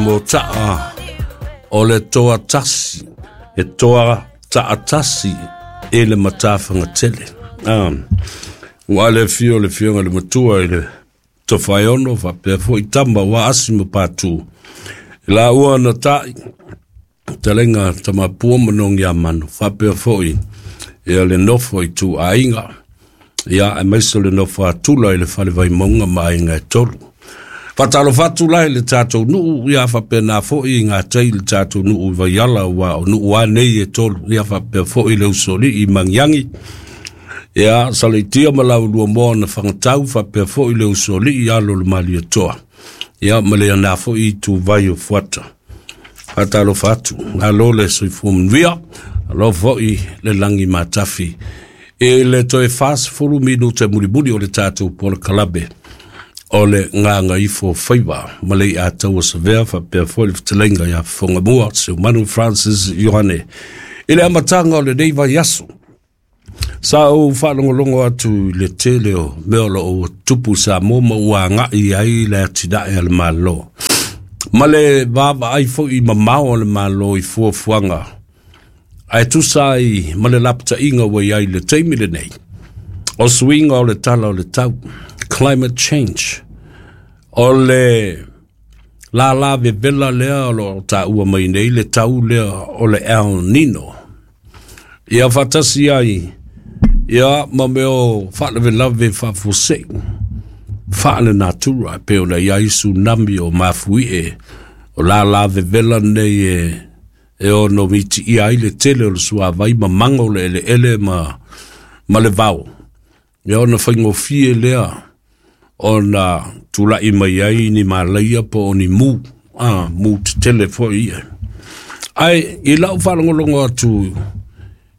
mota'a o le toa tasi, e toa ta'atasi i le matafagatele. Ua le afio le afioga i le Matua i le Tofaeono faapea foi tama ua asi ma patu. I laua na ta'i, talega Tamapua ma Nogiamanu, faapea foi ia le nofo i tuaiga, ia aemaise o le nofo atula i le fale Vaimauga ma aiga e tolu. Faatalofa atu la i le tatou nuu, ia faapena foi i gatai le tatou nuu i Vaiala, ua o nuu a nei e tolu, ia faapea foi le usoalii i Magiagi, ia Saleitia ma Laulua moa na fagatau, faapea foi le usoalii alo o le Malietoa, ia ma le ana foi ituvai o Fuata. Faatalofa atu, malo le soifua manuia, alo foi le lagi matafi. I le toe 40 minute mulimuli o le tatou polokalabe o le Gagaifo Faiva ma le Ataua Savea faapea foi le fetalaiga ia Fofogamua Seumanu Francis Ioane. I le amataga o lenei vaiaso, sa ou faalogologo atu i le tele o mea o loo ua tupu i Samoa ma ua agai ai le atinae a le Malo, ma le vaavaai foi mamao o le Malo i fuafuaga ae tusa ai ma le lapataiga ua i ai i le taimi lenei o suiga o le tala o le tau, climate change, o le lala vevela lea o loo taua mai nei le tau lea o le El Nino. Ia faatasi ai ia ma mea o faalavelave faafuasei faale-natura e pei ona i ai tsunami o mafuie o lala vevela nei e ono mitiia ai le tele o le suavai ma mago le eleele ma le vao. Ia ona faigofie lea ona tula'i mai ai ni malaia po o ni mu, mu tetele foi ia. Ae i lau faalogologo atu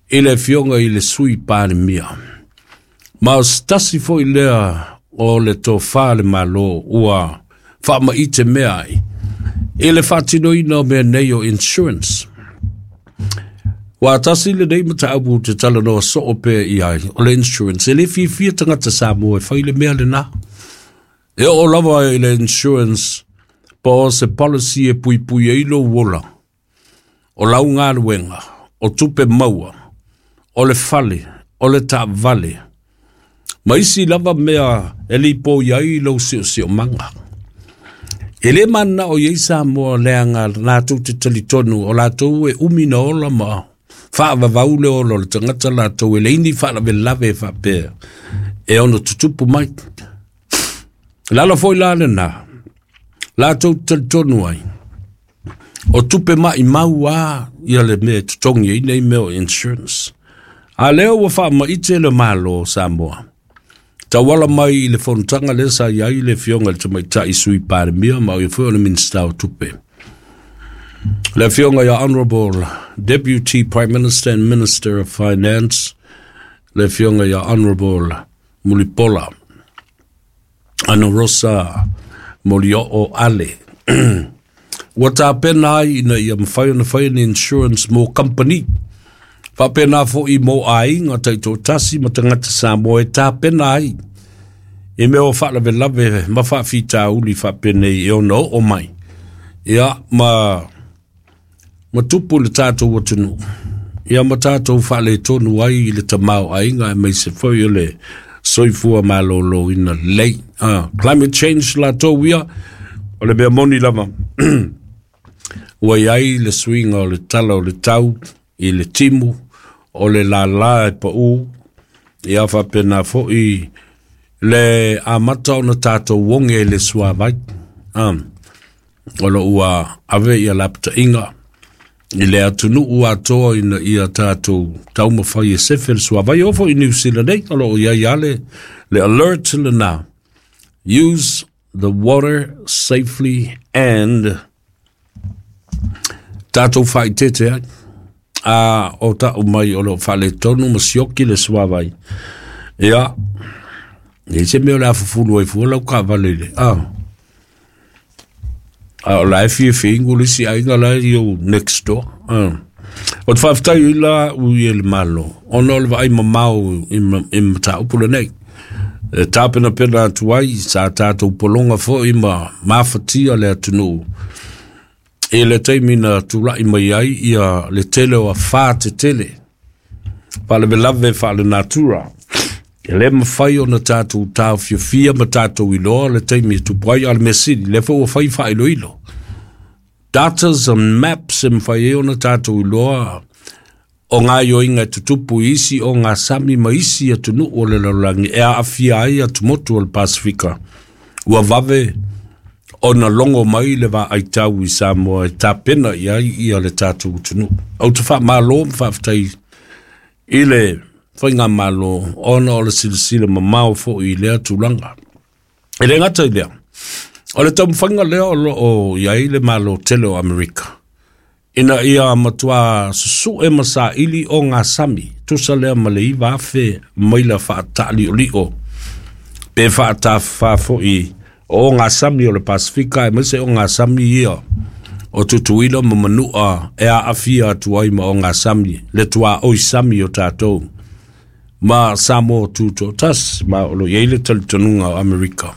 i le afioga i le Sui Palemia, ma o se tasi foi lea o le tofa le Malo ua faamaite mea ai i le faatinoina o mea nei o insurance. Ua tasi lenei mataupu te talanoa soo pea i ai, o le insurance. E le fiafia tagata Samoa e fai le mea lena. E oo lava i le insurance po o se policy e puipui ai lou ola, o lau galuega, o tupe maua, o le fale, o le taavale, ma isi lava mea e lipoi ai lou siosiomaga. E le mananao i ai Samoa leaga latou te talitonu o latou e umi na ola ma faavavau le ola o le tagata latou e leai ni faalavelave faapea e ono tutupu mai. Le ala foi la lena latou te talitonu ai o tupe maimau a ia le mea e totogi ai nei mea o insurance. A lea ua faamaite le Malo o Samoa tauala mai i le fonotaga lea sa i ai le afioga i le Tamaitai Sui Palemia ma o ia foi o le Minisita o Tupe. Le afioga ia Honorable Deputy Prime Minister and Minister of Finance, le afioga ia Honorable Mulipola Anarosa Molioo Ale. Ua tapena ai ina ia mafai ona fai ni insurance mo company. Faapena foi mo aiga taitoatasi ma tagata Samoa e tapena ai i mea o faalavelave ma faafitauli faapenei e ono oo mai. Ia ma tupu le tatou atunuu. Ia ma tatou faaletonu ai i le tamaoaiga aemaise foi o le soifua maloloina lelei. Climate change latou ia, o le mea moni lava. Ua i ai le suiga o le tala o le tau i le timu, o le lala e pau, ia faapena foi le amata ona tatou oge i le suavai. O lo ua ave ia lapataiga i le atunuu atoa ina ia tatou taumafai e sefe le suavai. Oo foi i New Zealand nei, o lo o i ai lava le alert lena. Use the water safely and tatou faaeteete ai. A o tau mai o lo o faaletonu ma sioki le suavai. Ia, e se mea o le a fufulu ai fua lau taavale i le. A o la e fiafia ingu le isi aiga la e i next door. O te faafetai ai la ui e le Malo, ona o le vaai mamao i mataupu lenei. E tapenapena atu ai sa tatou pologa foi ma mafatia le atunuu. I le taimi na tula'i mai ai ia le tele o afā tetele faalavelave faalenatura, e lē mafai ona tatou taofiofia ma tatou iloa le taimi e tupu ai. A o le mea sili, lea foi ua fai faailoilo, datas and maps, e mafai ai ona tatou iloa o gaoioiga e tutupu i isi ogasami ma isi atunuu o le lalolagi e aafia ai atumotu o le Pasefika. Ua vave ona logo mai le vaaitau i Samoa e tapena i ai ia le tatou atunuu. Ou te faamalo ma faafetai i le faigamalo ona o le silasila mamao foi i lea tulaga. E le gata i lea, o le taumafaiga lea o loo i ai le Malo tele o Amerika ina ia matuā susu'e ma saili ogasami tusa lea ma le 9,000 maila faataaliolio pe faatafafā foi o ogasami o le Pasefika, aemaise ogasami ia o Tutuila ma Manu'a e aafia atu ai ma ogasami le tuaoi sami o tatou ma Samoa tutoatasi. Ma o lo i ai le talitonuga o Amerika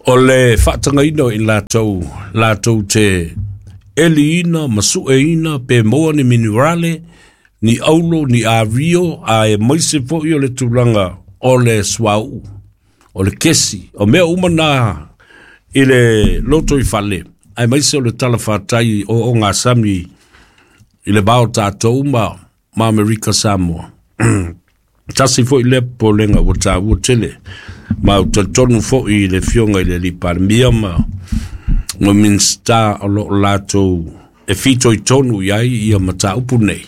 o le faatagaina o i latou latou te eliina ma sueina pe maua ni minerale, ni aulo, ni ario, aemaise foi o le tulaga o le suauu, o le kesi, o mea uma na i le loto i fale, aemaise o le talafatai o ogasami i le va o tatou ma Amerika Samoa. Tasi foi lea popolega ua taua tele, ma ou talitonu foi i le afioga i le alii Palemia ma Minisita o loo latou e fitoitonu i ai ia mataupu nei,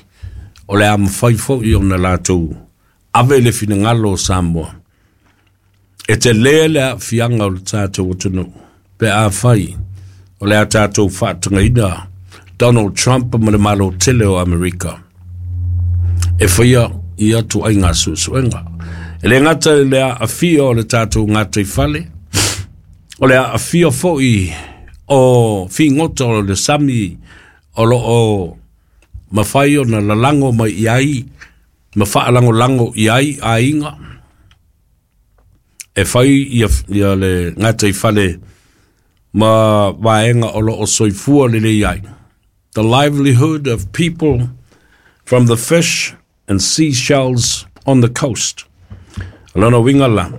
o le a mafai foi ona latou ave le finagalo o Samoa. E telē le aafiaga o le tatou atunuu pe afai o le a tatou faatagaina Donald Trump ma le Malo tele o Amerika e faia ia tuaiga suesuega. E le gata i le aafia o le tatou gataifale, o le aafia foi o figota o le sami o loo mafai ona lalago mai i ai ma faalagolago i ai aiga e fai ia le gataifale ma vaega o loo soifua lelei ai. The livelihood of people from the fish and seashells on the coast. O lona uiga la,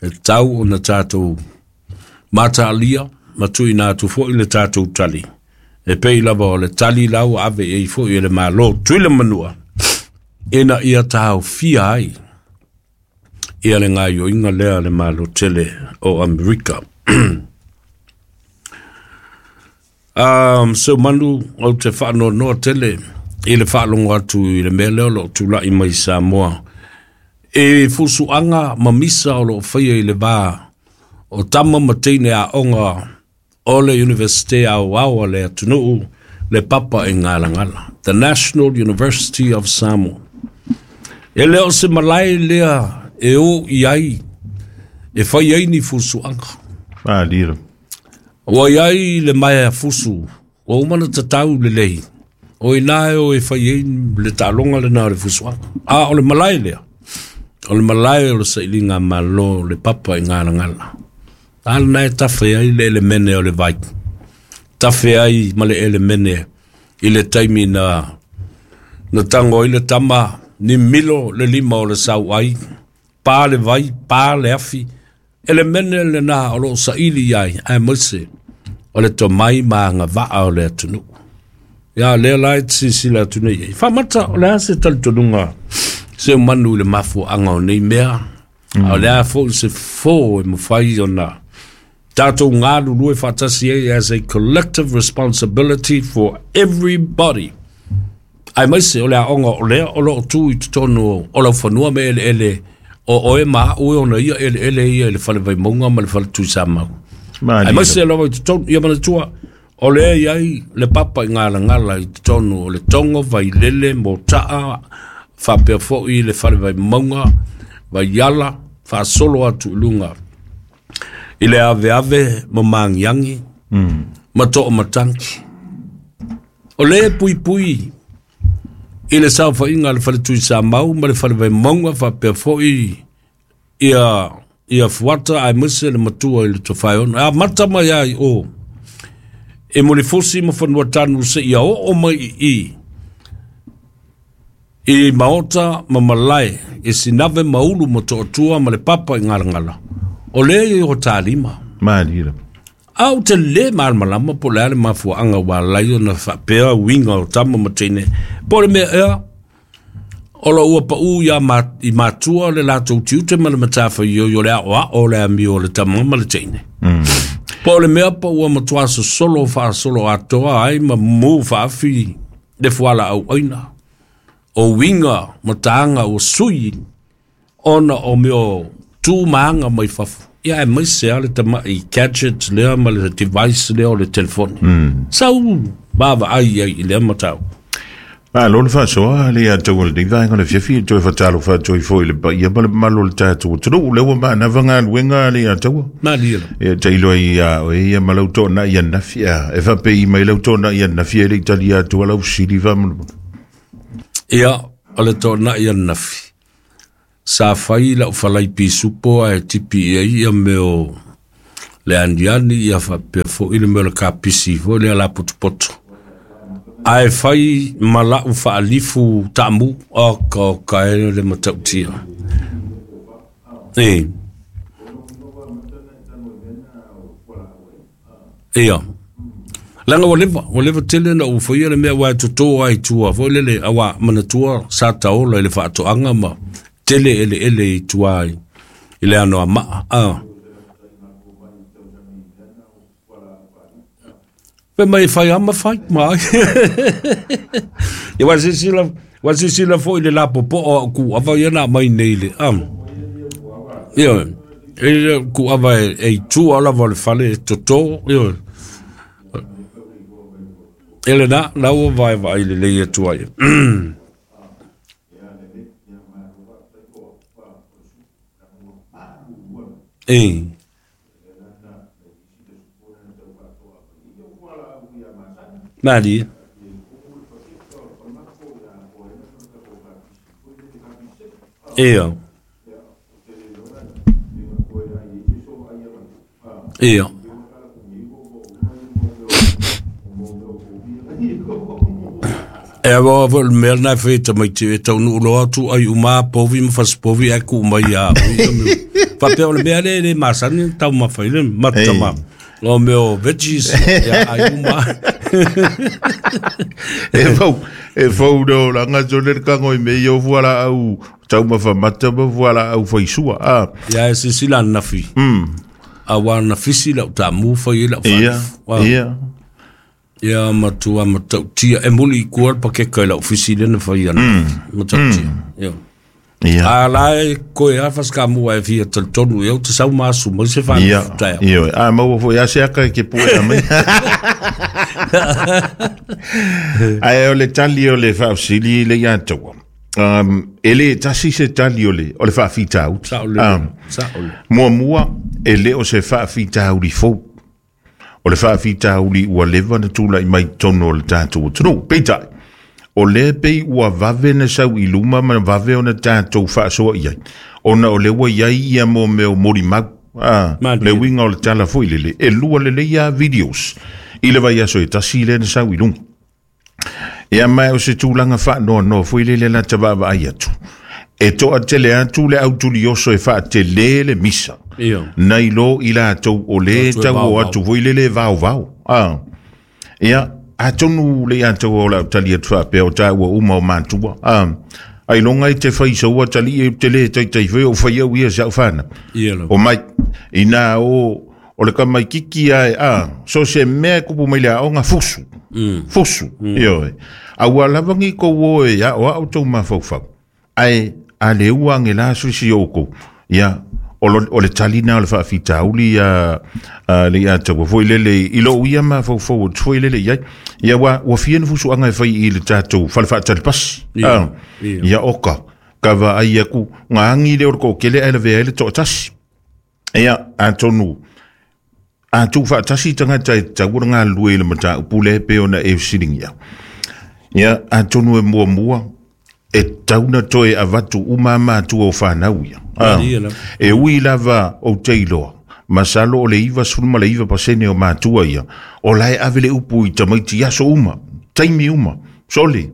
e tau ona tatou mataalia ma tuuina atu foi le tatou tali e pei lava o le tali la ua ave i ai foi e le Malo Tuila Manua ina ia taofia ai ia le gaoioiga lea a le Malo tele o Amerika. Seumanu, ou te faanoanoa tele i le faalogo atu i le mea lea o loo tula'i mai Samoa e fusuaga ma misa o loo faia i le va o tama ma teine aoga o le Universite Aoao a le atunuu, le Papa e Galagala, the National University of Samoa. E le o se malae lea e o i ai e fai ai ni fusuaga. Malira. Ua i ai le maea fusu ua uma na tatau lelei o ina e o e fai ai le taaloga lena o le fusuaga. A o le malae lea, o le malae o le sailiga malo, le Papa i Galagala. A lena e tafe ai le elemene o le vai, tafe ai ma le elemene i le taimi na tago ai le tama ni milo le lima o le sau ai, pa le vai, pa le afi, elemene lena o loo saili ai, aemaise o le tomai ma agavaa o le atunuu. Ia lea la e silasila atu nei ai. Faamata, o le a se talitonuga Seumanu i le mafuaaga o nei mea? A o le a foi se fofo e mafai ona tatou galulue faatasi ai as a collective responsibility for everybody, aemaise o le aoga o lea o loo tu i totonu o laufanua ma eleele o oe ma a'u e ona ia eleele ia i le fale Vaimauga ma le fale Tuisamau, aemaise lava i totonu ia manatua o lea i ai le Papa i Galagala i totonu o le Togo, Vailele, Motaa, faapea foi le fale Vaimauga, Vaiala, faasolo atu i luga i le aveave ma Magiagi ma Toomatangi. O le puipui i le saofaiga a le fale Tuisamau ma le fale Vaimauga, faapea foi ia Fuata, aemaise le matua i le Tofaeono e amata mai ai o E Mulifusi ma Fanuatanu seia oo mai i i maota ma malae i Sinave ma Ulu ma Toatua ma le Papa i Galagala, o lea e o talima. Malie lava. A ou te lē malamalama po o le a le mafuaaga ua ala ai ona faapea uiga o tama ma teine, po o le mea ea o lo ua paʻū iā ma, i matua le latou tiute ma le matafaioi o le aʻoaʻo o le amio o le tama ma le teine. Po o le mea po ua matuā sosolo faasolo atoa ai ma mū faafi le fualaau ʻaina. O uiga ma taga ua sui ona o mea o tu ma aga mai fafo. Ia aemaise lava le tamaʻi gadget lea ma le device lea o le telefoni. Sau vaavaai ai i lea mataupu. Malo le faasoa le ia tou o lenei vaega o le afiafi e toe fatalofa atu ai foi i le paia ma le mamalu o le tatou atunuu. Lea ua maanava galuega le ia taua. Malie lava. Ia tailo ai ia oe ia ma lau toonai ananafi. Ia, e faapei mai lau toonai ananafi e le i talia atu lau fesili faamolemole. Ia, o le toonai ananafi, sa fai lau falai pisupo ae tipi i ai ia mea o le aniani ia faapea foi le mea o le kapisi foi lea lapotopoto. Ae fai ma lau faalifu taamu, oka oka e le matautia. E. Ia. Leaga ua leva, ua leva tele na ou faia le mea aua e toto ai i tua foi lele, aua manatua sa taola i le faatoaga ma tele eleele i tua i le Anoamaa. A. Fai mai e fai lava ma fai, ma ai. Ia ua silasila, ua silasila foi i le lapopoa o au kuava ia na aumai nei le, a. Ioe, e le o kuava e i tua lava o le fale e toto, ioe. E lena, la ua vaevaai lelei atu ai. E. Malie. Ia. Ia. E awa foi le mea lena e fai e tamaiti e taunuu loa atu ai uma povi ma fasipovi ae tuu mai ia au ia mea. Faapea o le mea lea e le masani ona taumafa ai le mata ma o mea o veggies ia ai uma. E fau, e fau le olaga sole le kago i mea ia o fualaau taumafa mata ma fualaau faisua. Ah. Ia e silasila ananafi. Aua na fisi lau taamu fai ai lau Ia, faalifu. ia. Ia matua matautia e muli i kua le pakeka i lau fisi lea na fai ana. Matautia. Ia. Ia. A la e koe a fasikamu e fia talitonu ia ou te sau ma asu mai se Ia, faalifu taeao. ia, a maua foi a se aka e ke pue a mai. Ae o le tali o le faafesili le ia taua. E le tasi se tali o le, o le faafitauli. Sao lelei. Sao lelei. Muamua, e le o se faafitauli fou. O le faafitauli ua leva na tulai mai totonu o le tatou atunuu. Peitai, o lea pei ua vave na sau i luma ma vave ona tatou faasoa i ai, ona o lea ua i ai ia mo mea o molimau. Ah, Malie. le uiga o le tala foi lele, e lua lelei lava videos i le vaiaso e tasi lea na sau i luga. Ia ma o se tulaga faanoanoa foi lele la ta vaavaai atu. E toatele atu le autulioso e faatele le misa. Ia. Nai lo i latou o le Atu e tau o vaovao. atu foi lele e vaovao. Ah. Ia, atonu le ia tau o lau tali atu faapea o tāua uma o matua. Ah. Ailoga i te fai saua tali e te le taitai foi o fai au ia sa au whana. Ia lava. O mai, ina o, o le kamaikiki ae, a, so se mea e kupu mai le aoga, fusu. Fusu, ioe. A ua lava ni kou o e a o au tau mafaufau. Ae, a le ua ange la suisi o kou. Ia, o, lo, o le tali na o le faafitauli ia a, le ia taua foi lele i lou ia mafaufau atu foi lele i ai. Ia ua, ua fia na fusuaga e fai i le tatou fale faatali pasi. Ia, Ah, ia. ia oka. Ka vaai aku ngā angi lea o le toatele ae lavea ai le toatasi. Ia, atonu, a tuu faatasi tagata e tatau ona galulue i le mataupu lea e pei ona e fesiligia. Ia, atonu e muamua, e tatau na toe avatu uma matua o whanau ia. Ah, Malie lava. e ui lava o te iloa. Masalo o le 99% o matua ia, o lae ave le upu i tamaiti aso uma, taimi uma, sole,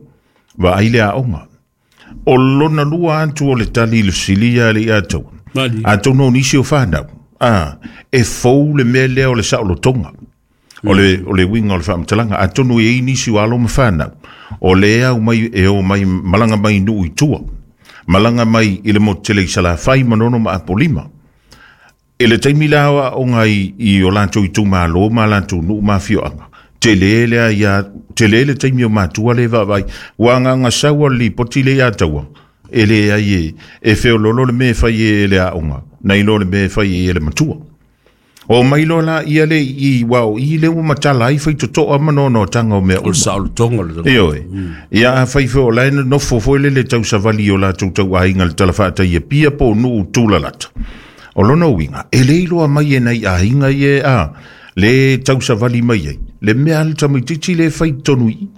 vaai le aoga. O lona lua atu o le tali i le fesilia le ia tau. Atonu o nisi o whanau, e fou le mea lea o le saolotoga. O le uiga o le faamatalaga. Atonu e i nisi o alo ma whanau, o le au mai e o mai malanga mai nuu i tua, malanga mai i le motu tele i Salafai Manono ma Apolima. E le taimi la aoaoga i o latou itumalo ma latou nuu ma afioaga. Tele lea ia, tele le taimi o matua le vaavai. Ua agaga sau o le lipoti le ia taua. E le ai e feololo le mea e fai e le aoga, nai lo le mea e fai e le matua. O mai lo la ia le i wa o i le ua matala ai fai totoa ma noanoatanga o mea O le uma. saolotoga le E oe. Ia a fai foi o lae nofo foi le le tausavali o latou tauaiga le tala faatai e pia po o nuu tulalata. O lona uiga, e le iloa mai e nai aiga ia a le tausavali mai ai. Le mea le tamaitiiti le fai tonu i.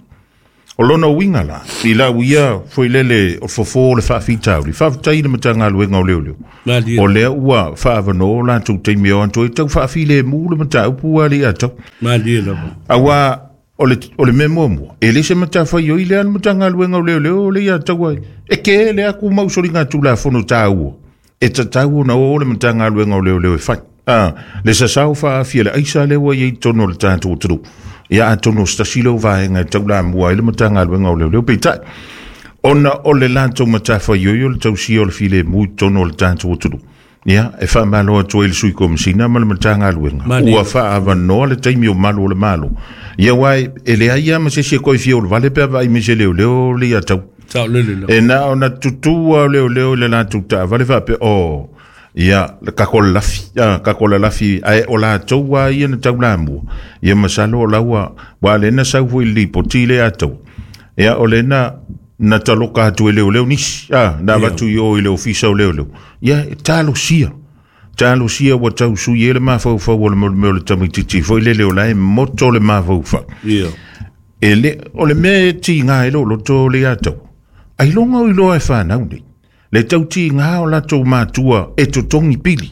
O lona uiga la, i lau ia foi lele o fofo o le faafitauli, faafetai i le Matagaluega o Leoleo. Malie. O lea ua faavanoa o latou taimi o atu ai tau faafilemu le mataupu ua le ia tau. Malie lava. Aua o le mea muamua, e le se matafaioi oi lea le Matagaluega o Leoleo le ia tau ai. E ke le aku mausoliga tulafono tāua. E tatau ona o le Matagaluega o Leoleo e fai. Le sasao faafia le aisa lea ua i ai tonu o le tatou atunuu. Ia atonu o se tasi leo vaega e taulamua ai le Matagaluega o Leoleo peitai. Ona o le latou matafaioi o le tausia o le filemu i totonu o le tatou atunuu. Ia, e faamalo atu ai le Sui Komisina ma le Matagaluega. Ua faaavanoa le taimi o malu o le malo. Ia uae, e leai lava ma se isi e koe fia o le vale pe a vaai mai se leoleo le ia tau. Sao lele lava. E na ona tutu o leoleo i le latou taavale faapea, o, ia, le kako le lafi, kako le lafi, ae o latou a ia na taulamua. Ia masalo o laua, ua le na sau foi i le lipoti le atau. Ia, o le na taloka atu e leoleo nisi, na avatu i o i le ofisa o leoleo. Ia, e talosia. Talosia ua tausui e le mafaufau o le mea o le tamaitiiti foi lele o la e moto le mafaufau. Ia. E le, o le mea e tiga e lo loto le atau. Ai longa o iloa e whanau nei. Le tau tiga o latou matua e totongi pili.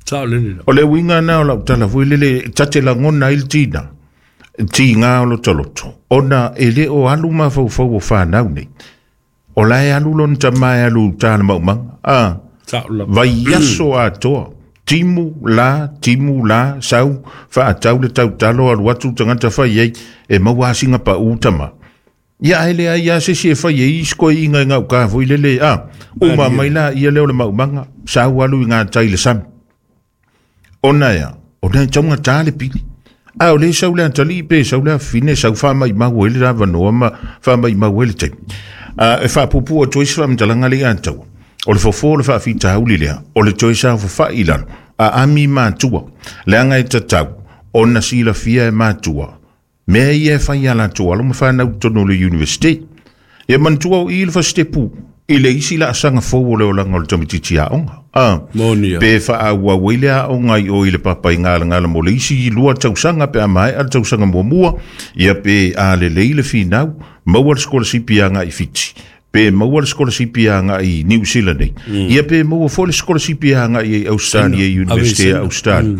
Sao lele la. O le uiga na o lau tala foi lele tate lagona ai le tina. Tiga o loto loto. Ona e le o alu mafaufau o whanau nei. O la e alu lona tama e alu tā le maumanga. Sao lava. Vai aso atoa. Timu la, sau, whaatau le tautalo alu atu tangata whai ei, e maua asinga pa utama. Ia ae lea ia se si e whai ei isko i inga ngau ka foi lele, uma mai la ia leo le maumanga, sau alu i ngā tai le sami. Ona ea, ona e taunga tā le pili. A o le sau lea tali pe, sau lea fine, sau wha mai mau ele rava noa ma wha mai mau ele taimi. E whaapupu o toi se whaamtalanga le ataua. O le fofo o le faafitauli lea, o le toe saofafai i lalo, a ami matua, leaga e tatau, ona silafia e matua, mea ia e fai a latou alo ma whanau tonu o le university. Ia manatua o i le fasitepu, i le isi laasaga fou o le olaga o le tamaitiiti aoga. Monia. Pe faaauau ai le aoga i o i le papa i galagala mo le isi 2 tausaga pe a maea le tausaga muamua, ia pe a lelei le finau, maua le sikolasipi agai i Fiti. Pe maua le sikolasipi agai i New Zealand nei. Ia pe maua foi le sikolasipi agai i Australia, University o Australia.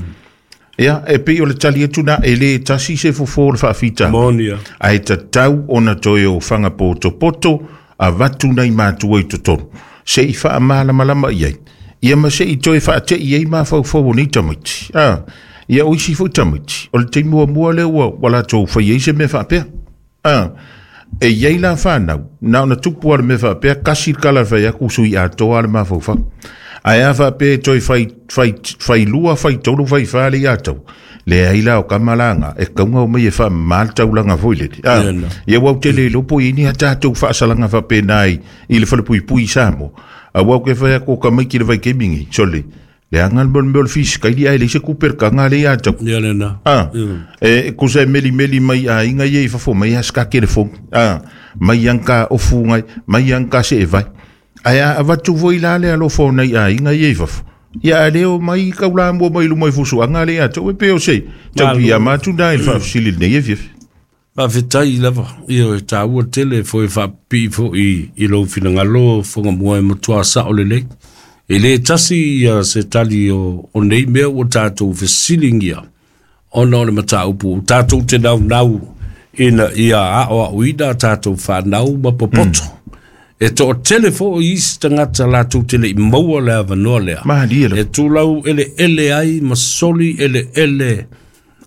Ia, e pei o le tali atu na e le tasi se fofo o le faafita. Monia. Ae tatau ona toe o whanga poto a vatu nei matua i totonu. Se i faamalamalama i ai. Ia ma se i toe faate i ai mafaufau o nei tamaiti. Ia o isi foi tamaiti. O le taimi muamua lea ua latou fai ai se mea faapea. E iai la whanau, na ona tupu a le mea faapea, kasi le kala whai aku sui atoa le mafaufau. Ae a faapea toe whai lua, whai tolu, whai wha le atau. Le ai la o kamalanga, e kaunga o mai e wha mal taulanga foi lele. Ia wau te le lopo i ni a tātou whaasalanga whapenai i le whalepui Samoa. A wau ke whai ako ka mai ki le vai kemingi, sole. Le anga le mole mole fisi, kai li ai le se kuper ka ngā le atau. Ia le na. E kusa e meli meli mai a inga ia i fafo, mai a ska ke le fong. Mai ang ka ofu ngai, mai ang ka se e vai. Ai a avatu voi la le alofo nei a inga ia i fafo. Ia a leo mai kaula mua mai lumai fusu anga le atau e peo se. Tau pia matu nā i le faafesili lenei e fiafi. Faafetai lava. Ia e tāua tele foi faapipi foi i lou finagalo fogamua e matua sao lelei. E le tasi ia se tali o nei mea ua tatou fesiligia ona o le mataupu tatou te naunau ina ia aoaoina a tatou fanau ma popoto. E toatele foi isi tagata latou te le i maua le avanoa lea. Malie E tulau eleele ai ma soli eleele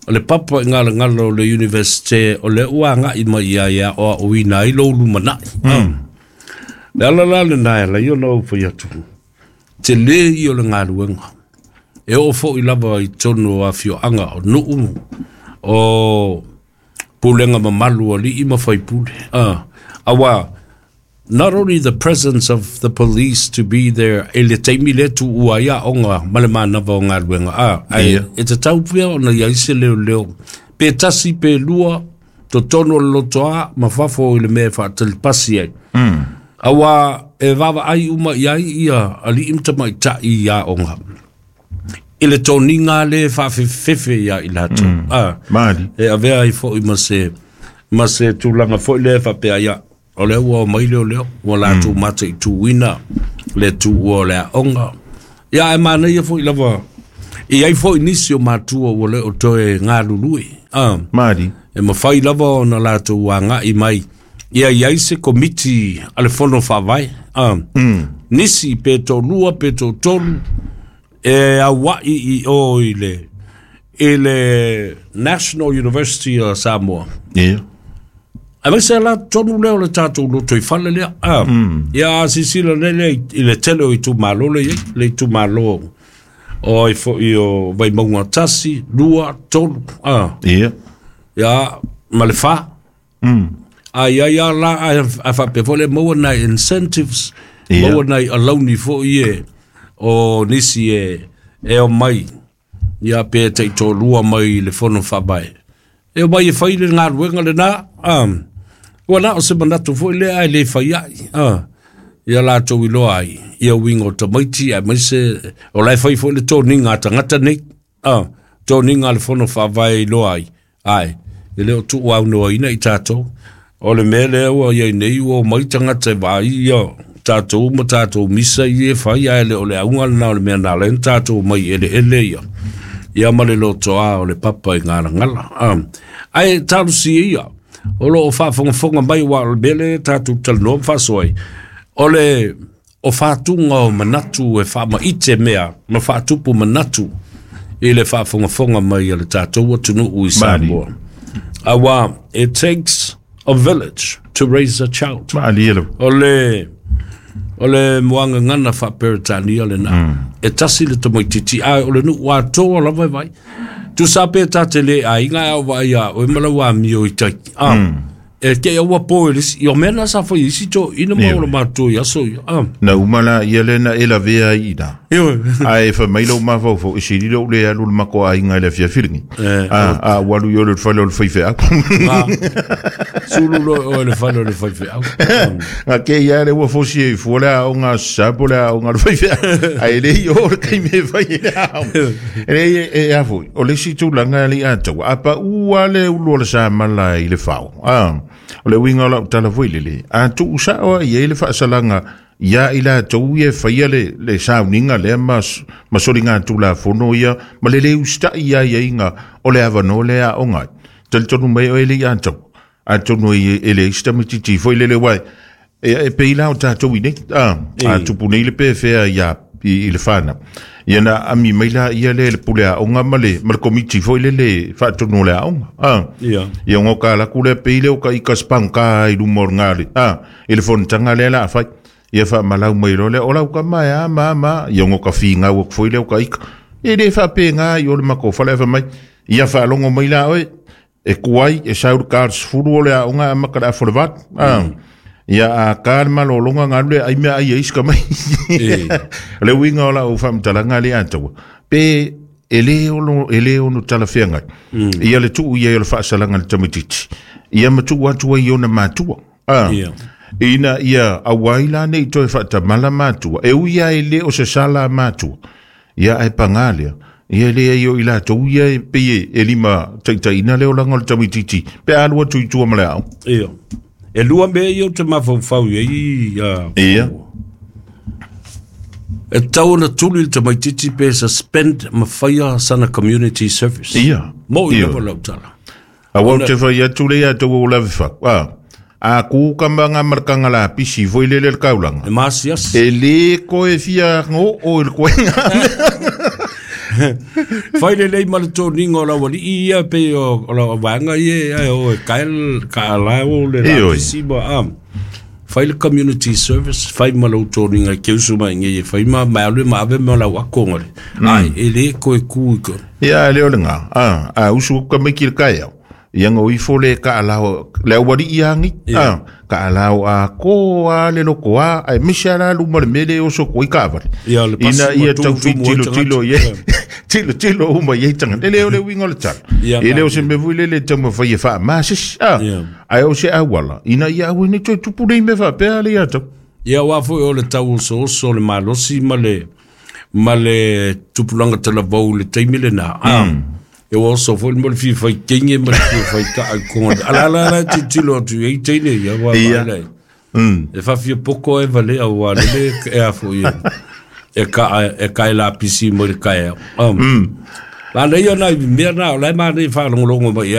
o le papa i galagala o le universite o lea ua agai mai ia ia aoaoina ai lou lumanai. Le ala la lena e ala ai ona ou fai atu, tele ia o le galuega. E oo foi lava i totonu o afioaga o nuu o pulega mamalu o alii ma faipule. Aua not only the presence of the police to be there e le taimi le tuua ai aoga ma le manava o galuega ai e tatau pea ona iai se leoleo pe tasi pe lua totonu o le lotoa ma fafo i le mea e faatalipasi ai. Aua e vaavaai uma i ai ia alii ma tamaitai i aoga i le toniga le faafefefefe ia i latou. Mali. E avea ai foi ma se tulaga foi lea faapea ia o lea ua omai leoleo ua latou mataituina le tuua o le aoga. Ia ae manaia foi lava i ai foi nisi o matua ua le o toe galulue. Mali. E mafai lava ona latou agai mai ia i ai se komiti a le fono faavae. Nisi pe toalua pe toatolu e auai i o i le National University o Samoa. Ia. Aemaise la tonu lea o le tatou lotoifale lea. Ia a silasila lea i le tele o itumalo lea i ai, le itumalo o ai foi o Vaimauga 1, 2, 3. Ia. Ia ma le 4. Ai ai la a faapea foi le maua nai incentives, maua nai alauni foi e o nisi e omai ia pe taitolua mai le fono faavae. E omai e fai le galuega lena. Ua na o se manatu foi lea ae le fai ai. Ia latou iloa ai ia uiga o tamaiti aemaise o la e fai foi le toniga a tagata nei. Toniga a le fono faavae iloa ai. Ae, e le o tuuaunoaina i tatou. O le mea lea ua iai nei ua omai tagata e vaai ia tatou ma tatou misa i e fai ae le o le auga lena o le mea na ala ai ona tatou omai eleele ia. Ia ma le lotoa o le papa i galagala. Ae talosia ia, o lo o faafogafoga mai aua o le mea lea tatou talanoa ma faasoa ai, o le o faatuga o manatu e faamaite mea ma faatupu manatu i le faafogafoga mai a le tatou atunuu i Samoa. Aua it takes a village to raise a child. Malie lava. O le moagagana faaperetania lena. E tasi le tamaitiiti ae o le nuu atoa lava e vai. Tusa pe ta te le aiga ae o vaai ia oe ma lau amio i tai. E te aua po e le isi. I o mea na sa fai isi toeaiina ma o le matou i aso ia. Na uma la ia le na e lavea ai ina. Ioe. Ae fai mai lou mafaufau e sili lou le alu le matou aiga i le afiafi lenei. A ua alu i o le fale o le faifeau. Sulu loa oe le fale o le faifeau. Ga ke ia le ua fosi e fua le aoga sa po le aoga le faifeau. Ae le i o le taimi e fai e le aoga. E le e a foi, o le isi tulaga le i ataua. A pa ua le ulu o le samala i le fao. O le uiga o lau tala foi lele. A tuu sao ai e le faasalaga ia i latou ia e faia le sauniga lea ma soliga tulafono ia ma le le usitai ia iaiga o le avanoa lea aoga ai. Talitonu mai oe le i atau. Atonu e le isi tamaitiiti foi lele uae. E pei la o tatou i nei. A tupu nei le pefea ia i le whanau. Ia na ami mai la ia le pule aoga ma le komiti foi lele faatonu o le aoga. Ia ngo ka laku le pei le o ka ika spangka i luma o ngā le. I le fonotaga lea la a fai. Ia faamalau mai loa lea, o lau kama e a ma ma, ia ngo ka fingau aku foi lea o ka ika. E le faapega i o le matou fale afa mai. Ia faalogo mai la oe, e kuai, e sau le ka 10 o le aoga a maka le afo le 8. Ia a ka le malologa galu le ai mea ai e isi ka mai. O le uiga o lau faamatalaga le ataua. Pe e le ono talafeagai. Ia le tuu ia o le faasalaga le tamaitiiti. Ia ma tuu atu ai i ona matua. Ina ia auai la nei toe faatamala matua. E ui ia e le o se sala matua. Ia ae pagā lea. Ia le ai o i latou ia e pei e lima taitaina le olaga o le tamaitiiti. Pe alu atu i tua ma le ao. Ia. E lua mea ia o te mafaufau i ai. Ia. E tatau ona tuli le tamaitiiti pe suspend ma faia sana community service. Ia. Mo i Ia. lava lau tala. Aua ou te fai atu le ia tau o lave fau. A, a ku ka manga ma le kanga la pisi foi lele le kaulanga. E masiasi. E le koe fia ngo o le koenga. Fai lelei ma le toniga o lau alii ia pei o lau vaega ia ae o e kae ka ala o le Ioe. lapisi ma a. Fai le community service, fai ma lau toniga e keusu mai ngai e fai ma ma alu ma ave ma lau akonga le. Ai, e le koe ku i ko. Ia le o le ngā. A, usu ka mai ki le kai au. Ia ngo ifo le ka alao, le awari ia ngi. A, ka alao a ko a le loko a, ai misi ala luma le mele o so ko i ka avale. Ia, le pasi Ina ma ia tumu tau fi tumu ai tilo tagata. tilo ia. Ia. Tilo tilo uma ia tanga. Le o le wingo le tala. Ia, E le o ma- se me vui le le tau mawhai e wha masis. A, Ia. ai o se awala. Ina ia awe ni toi tupu nei me wha pea le ia tau. Ia wā foi o le tau oso oso le malosi ma le tupulaga talavou i le taimi lenā a e ua oso foi le mo le fia faikege ma le fia faita'a i koga ala ala ala e tilotilo atu i ai teine ia ua Ia. vaai e faafia poko e valea ua lele e a foi e ka e kae lapisi mo le kaeao la leia nai mea na o lae manei faalogologo mai ai.